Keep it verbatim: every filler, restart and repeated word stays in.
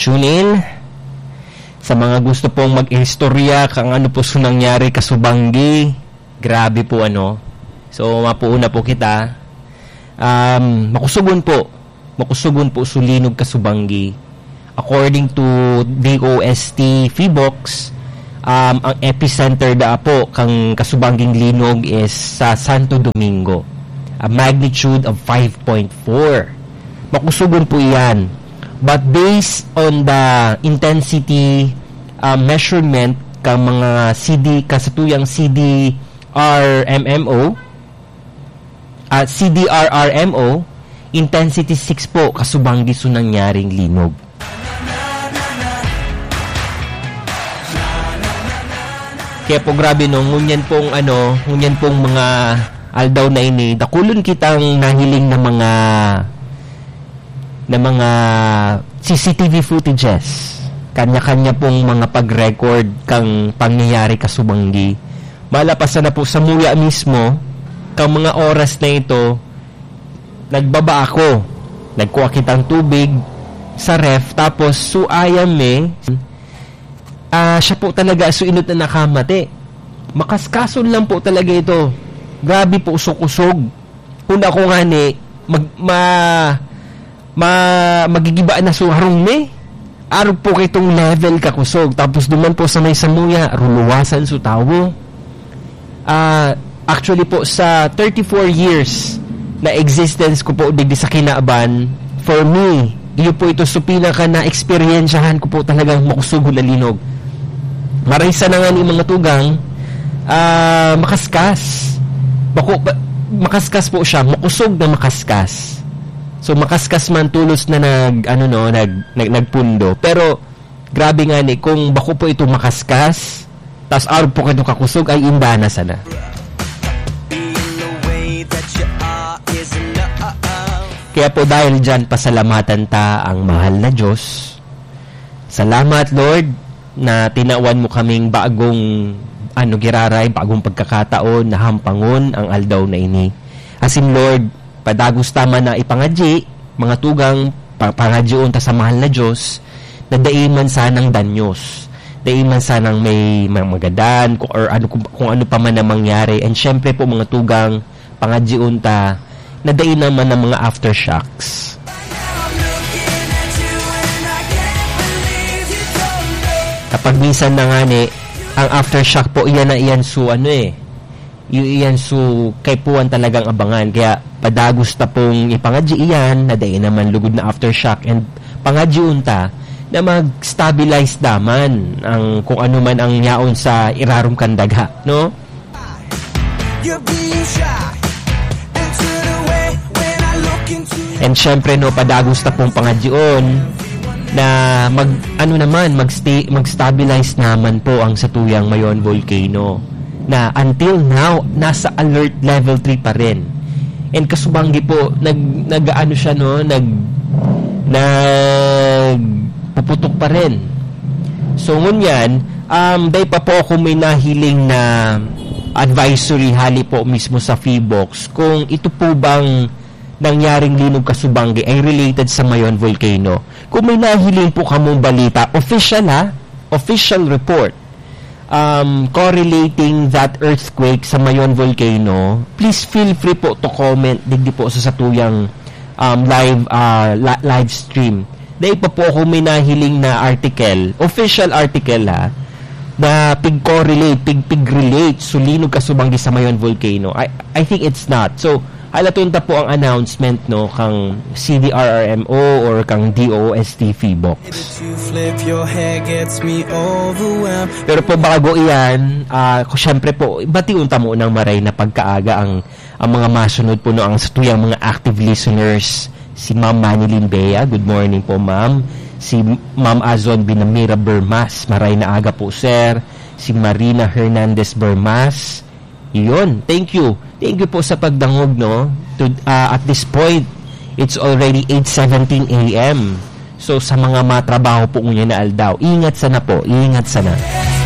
Tune in. Sa mga gusto pong mag-istorya kang ano po su nangyari kasubanggi, grabe po, ano. So, mapuuna po kita. Um, makusugon po. Makusugon po su linog kasubanggi. According to D O S T Phivolcs, um, ang epicenter da po kang kasubangging linog is sa Santo Domingo, a magnitude of five point four. Makusugon po iyan. But based on the intensity, uh, measurement ka mga C D, kasatuyang C D R M M O, at C D R R M O, intensity six po, kasubanggi su nangyaring linog. Kaya po grabe, no, ngunyan pong, ano, ngunyan pong mga aldaw na ini, dakulon kitang nahiling na mga, na mga C C T V footages. Kanya-kanya pong mga pag-record kang pangyayari kasubanggi. Malapasan na po samuya mismo, kang mga oras na ito, nagbaba ako. Nagkuha kitang tubig sa ref, tapos suayam eh, ah, siya po talaga su inot na nakamate. Makaskason lang po talaga ito. Grabe po, kusog-kusog. Kung ako nga ni, mag-, ma-, ma-, magigiba na su harong mi. Arog po kay itong level kakusog. Tapos duman po sa may samuya, ruluwasan su tawo. Ah, actually po, sa thirty-four years na existence ko po digdi sa kinaban, for me, iyo po ito su pinaka na-eksperyensyahan ko po talagang makusog na linog. Marisa na nga ni mga tugang, ah, makaskas. Bako, ba-, makaskas po siya, makusog na makaskas. So, makaskas man, tolos na nag, ano, no, nag, nag, nagpundo. Pero, grabe nga ni, kung bako po ito makaskas, tas arog po kayo kakusog, ay indana sana. Kaya po, dahil dyan, pasalamatan ta ang mahal na Diyos. Salamat, Lord, na tinawan mo kaming bagong, ano, giraray, bagong pagkakataon na hampangon ang aldaw na ini. Asin, Lord, padagos ta man na ipangadyi, mga tugang, pa-, pangadyoon ta sa mahal na Diyos, na dai man sanang danyos, dai man sanang may ma-, magadan, kung, or ano, kung, kung ano pa man ang mangyari. And syempre po, mga tugang, pangadyoon ta, na dai naman ang mga aftershocks. Kapag minsan na nga ni, ang aftershock po, iyan na iyan su, ano eh, i-, iyan su kaipuhan talagang abangan. Kaya padagos ta pong ipangadyi iyan, na dai naman lugod na aftershock, and pangadyoon ta na mag-stabilize daman ang kung ano man ang yaon sa irarom kan daga, no? You're being shy and turn away when I look into your And syempre, no, padagos ta pong pangadyoon na mag, ano naman, mag-sta-, mag-stabilize naman po ang satuyang Mayon Volcano na until now, nasa alert level three pa rin. And kasubanggi po, nag-, nag-aano siya, no? Nag-, nagpuputok pa rin. So, ngunyan, um, dai pa po ako may nahiling na advisory hali po mismo sa Phivolcs kung ito po bang nangyaring linog kasubanggi ay related sa Mayon Volcano. Kung may nahiling po kamong balita, official ha, official report, um, correlating that earthquake sa Mayon Volcano, please feel free po to comment digdi po sa satuyang, um, live, ah, li-, live stream. Dai pa po ako may nahiling na article, official article ha, na pig-correlate, pig-, pig-relate su linog kasubanggi sa Mayon Volcano. I, I think it's not. So, halaton ta po ang announcement, no, kang C D R R M O or kang D O S T Phivolcs. To flip your hair gets me overwhelmed. Pero po, bago iyan, ah, ku-, syempre po, bation ta munang maray na pagkaaga ang, ang mga masunod po, no, ang satuyang mga active listeners. Si Ma'am Manilyn Bea, good morning po, Ma'am. Si Ma'am Azon Binamira Bermas, maray na aga po, sir. Si Marina Hernandez Bermas, yun, thank you. Thank you po sa pagdangog, no? To, ah, at this point, it's already eight seventeen A M. So, sa mga matrabaho po ngunyan na aldaw, ingat sana po, ingat sana.